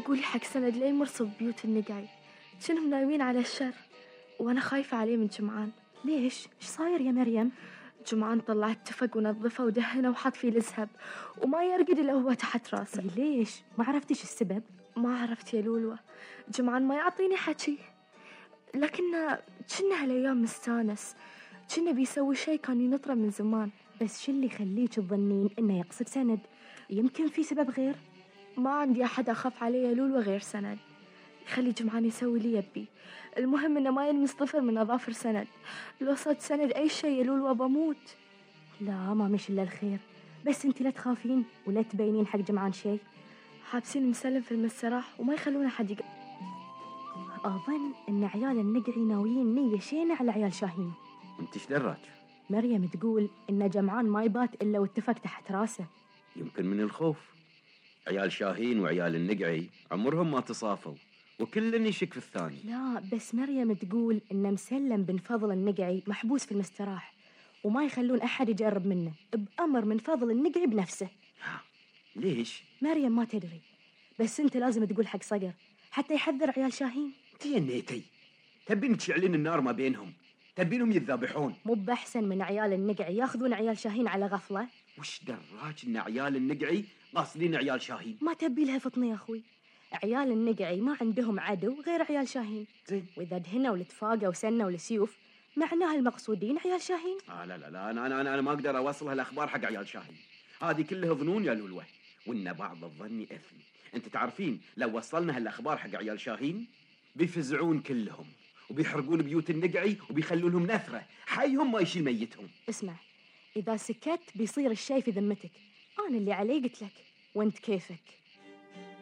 قولي حق سند لا يمرصوا ببيوت النقعي، شنهم نايمين على الشر، وأنا خايفة عليه من جمعان. ليش؟ إيش صاير يا مريم؟ جمعان طلع التفق ونظفه ودهنه وحط فيه الزهب وما يرقد إلا هو تحت راسه. ليش؟ ما عرفتش السبب؟ ما عرفت يا لولوة، جمعان ما يعطيني حكي، لكن كنا هالأيام مستانس، كنا بيسوي شي كان ينطره من زمان. بس شو اللي يخليك تظنين إنه يقصد سند؟ يمكن في سبب غير. ما عندي أحد أخاف عليه يا لولوة غير سند، خلي جمعان يسوي لي يبي، المهم إنه ما يلمس طفل من أظافر سند، لو صد سند أي شي يا لولوة بموت. لا ما مش إلا الخير، بس أنت لا تخافين ولا تبينين حق جمعان شي. حابسين مسلم في المسرح وما يخلون أحد أظن إن عيال النقعي ناويين نية شينة على عيال شاهين. أنت إيش دراك؟ مريم تقول إن جمعان ما يبات إلا واتفق تحت راسه. يمكن من الخوف. عيال شاهين وعيال النقعي عمرهم ما تصافوا وكل يشك في الثاني. لا بس مريم تقول إن مسلم بن فضل النقعي محبوس في المستراح وما يخلون أحد يجرب منه بأمر من فضل النقعي بنفسه. ليش؟ مريم ما تدري، بس أنت لازم تقول حق صقر حتى يحذر عيال شاهين. تينيتي تبين تشعلين النار ما بينهم، تبينهم يتذابحون. مو بأحسن من عيال النقعي ياخذون عيال شاهين على غفلة؟ وش دراك إن عيال النقعي قاصدين عيال شاهين؟ ما تبي لها فطني يا أخوي، عيال النقعي ما عندهم عدو غير عيال شاهين. زين، وإذا دهنوا والتفاقة وسنوا والسيوف معناها المقصودين عيال شاهين. لا أنا ما أقدر أوصل هالأخبار حق عيال شاهين، هذه كلها ظنون يا لولوة، وإن بعض الظن إثم. أنت تعرفين لو وصلنا هالأخبار حق عيال شاهين بيفزعون كلهم وبيحرقون بيوت النقعي وبيخلونهم نثرة حيهم ما يشيل ميتهم. اسمع، إذا سكت بيصير الشي في ذمتك، أنا اللي علي قلت لك وانت كيفك.